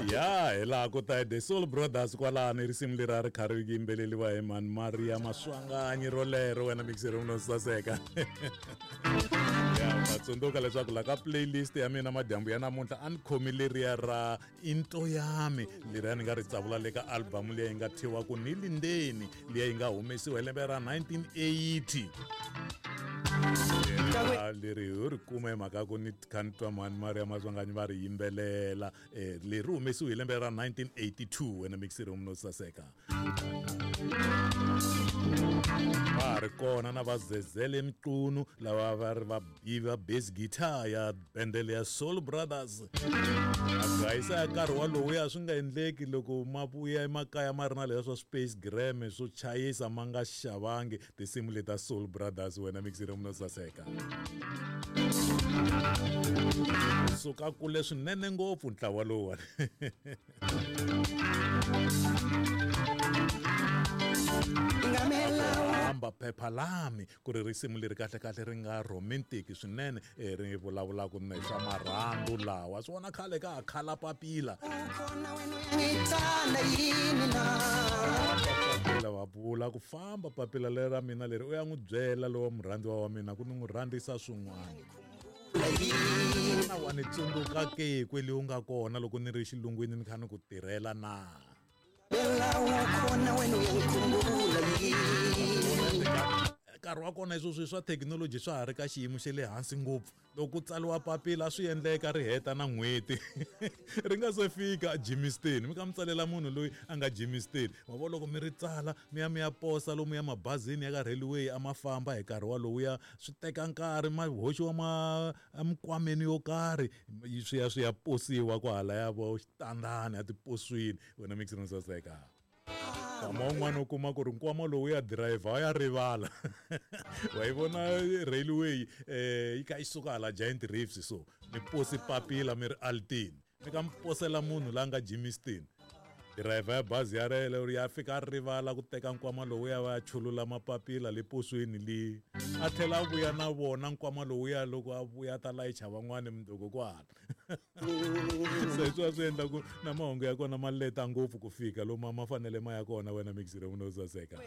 Ya hi laha ku ta The Soul Brothers kwalano, risimu leri a ri kha ri yimbeleriwa hi mani, Maria Maswanganyi rolero. Wena mixeri no saseka ya va tsundzuka leswaku la ka playlist ya mina madyambu ya namuntlha a ni khomi leriya ra Into Yami, leriya ni nga ri tsavula le ka album liya yi nga thyiwa ku Ni Lindeni, liya yi nga humesiwa hi lembe ra 1980. Leri ho ri kuma hi mhaka ku ni kha ni twa mhani Maria Maswanganyi va ri yimbelela. Leri humesiwe hi lembe ra 1982. Wena mixeri no saseka, va ha ri kona na va Zezele Mqunu lava va ri va va bass guitar ya bendele ya Soul Brothers. Agayisa ya nkarhi walowu swi nga endleki loko ma vuya emakaya ma ri na leswa swa space gram swo chayisa, ma nga xavangi tinsimu leta Soul Brothers. Wena mixeri no saseka, suka kule swinene ngopfu ntlawa lowuwani. Hamba phepha lami ku ri risimu leri kahle kahle ri nga romantic swinene, ri vulavulaka na swa marhandu lawa swi vona khale ka ha khala papila. Ukhona wena, uyangithanda yini na? Papila va vula ku famba papila leri ra mina leri u ya n'wi byela lowa murhandziwa wa mina ku ni n'wi rhandzisa swin'wana na wa ni tsundzuka ke kwele u nga kona loko ni ri xilungwini ni kha ni ku tirhela na. Bella, ukhona wena, uyangikhumbula yini? Nkarhi wa kona sweswi swa thekinoloji swa ha ri ka xiyimo xa le hansi ngopfu. Loko ku tsariwa papila swi endleka ri heta na n'hweti ri nga se fika Germiston. Mi ka mi tsalela munhu loyi a nga Germiston, wa vo loko mi ri tsala mi ya mi ya posa lomu ya mabazini ya ka railway a ma famba hi nkarhi walowuya, swi teka nkarhi, ma hoxiwa ma emikwameni yo karhi, swi ya posiwa kwahalaya vo xitandani etiposweni. Wena mixini saseka, nkama wun'wana u kuma ku ri nkwama lowu ya dirayivha ya rivala. Wa yi vona railway yi kha yi suka hala Giant Reefs, so mi posi papila mi ri Altini, mi ka mi posela munhu la nga Germiston, dirayivha ya bazi ya rele ya fika a rivala ku teka nkwama lowu ya va ya chulula mapapila le posweni le, a tlhela a vuya na vona nkwama lowuya. Loko a vuya ta layicha van'wani mundzuku kwala. Se swi va swi endla ku na mahungu ya kona ma leta ngopfu ku fika lomu ma fanele ma ya kona. Wena mixire no saseka,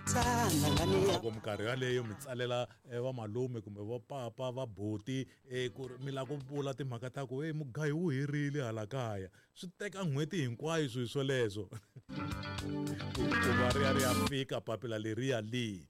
Thanda ngane. Loko minkarhi yaleyo mi tsalela vamalume kumbe va papa va buti ku ri mi lava ku vula timhaka ta ku e mugayo wu herile hala kaya, swi teka n'hweti hinkwayo swilo swoleswo ku va ri ya ri ya fika papila leriya leyi.